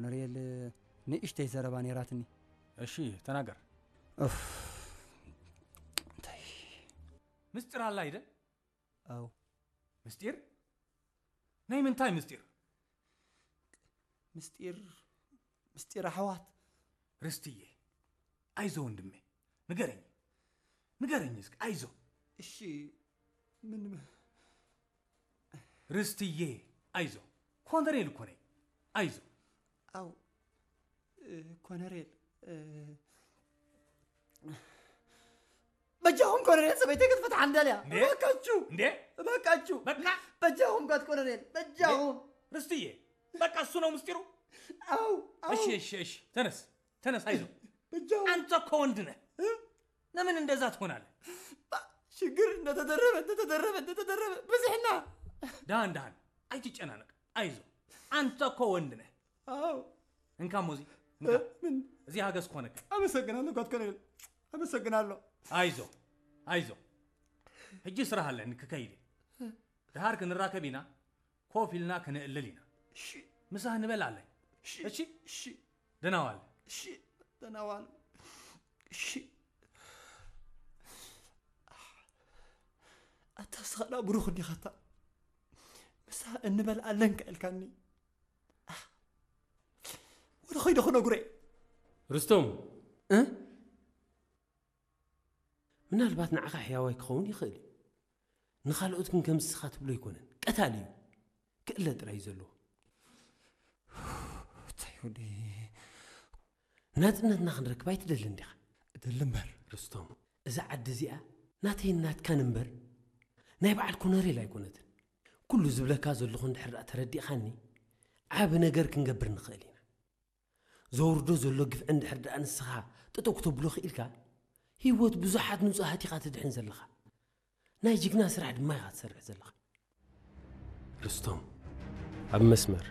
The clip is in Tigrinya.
ኮነሬል ንእሽተይ ዘረባ ነይራትኒ። እሺ፣ ተናገር። ኡፍ፣ እንታይ? ምስጢር ኣላ ኣይደል? ኣው ምስጢር? ናይ ምንታይ ምስጢር? ምስጢር ምስጢር ኣሕዋት። ርስትዬ፣ ኣይዞ ወንድሜ፣ ንገረኝ፣ ንገረኝ እስኪ፣ ኣይዞ። እሺ፣ ምን ርስትዬ፣ ኣይዞ፣ ኮነሬል እኮ ነኝ፣ ኣይዞ። ኣው እ፣ ኮነሬል እ፣ በጃኹም ኮነሬል፣ ሰበይተይ ክትፈትሓ እንደልያ። እንዴ? እባካችሁ እንዴ? እባካችሁ በቃ በጃኹም ጋት ኮነሬል፣ በጃኹም። ርስትዬ፣ በቃ እሱ ነው ምስጢሩ። ኣው ኣው እሺ፣ እሺ፣ እሺ፣ ተነስ፣ ተነስ፣ ኣይዞ። በጃኹም። አንተ እኮ ወንድ ነህ። ለምን እንደዛ ትሆናለህ? ሽግር እንደተደረበ እንደተደረበ እንደተደረበ ብዝሕና። ደሃን ደሃን፣ ኣይትጨናነቅ፣ ኣይዞ። አንተ እኮ ወንድ ነህ። ኣው እንካ ሞዚ፣ እንካ። ምን እዚ ሃገዝ ክኾነካ። ኣመሰግናለሁ ጋት ኮነሬል፣ ኣመሰግናለሁ። ኣይዞ፣ ኣይዞ። ሕጂ ስራሕ ኣለኒ ክከይድ እየ። ድሃር ክንራከብ ኢና፣ ኮፍ ኢልና ክነእልል ኢና። እሺ ምሳህ ንበል ኣለኝ። እሺ እሺ? እሺ ደህና ዋል። እሺ ደህና ዋል። እሺ ኣታ ስኻ ብሩኽ እንዲኻታ ምሳ እንበል ኣለንካ ኢልካኒ። ወደ ኸይደ ክነግሮ እየ። ርስቶም፣ ምናልባት ንዓኻ ሕያዋይ ክኸውን ይኽእል እዩ። ንኻልኦት ግን ከም ንስኻ ትብሎ ኣይኮነን። ቀታሊ እዩ። ክእለ ጥራይ እዩ ዘለዎ። እንታይ ይሁን? ናጽነትና ክንረክብ ኣይትደልን ዲኻ? እደሊ እምበር። ርስቶም፣ እዛ ዓዲ እዚኣ ናተይን ናትካን እምበር ናይ በዓል ኮነሬል ኣይኮነትን። ኩሉ ዝብለካ ዘለኹ እንድሕር ደኣ ተረዲእኻኒ፣ ዓቢ ነገር ክንገብር ንኽእል ኢና። ዘውርዶ ዘሎ ግፍዒ እንድሕር ደኣ ንስኻ ጠጠው ክተብሎ ክኢልካ፣ ህይወት ብዙሓት ንጹሃት ኢኻ ትድሕን ዘለኻ። ናይ ጅግና ስራሕ ድማ ኢኻ ትሰርሕ ዘለኻ። ርስቶም፣ ኣብ መስመር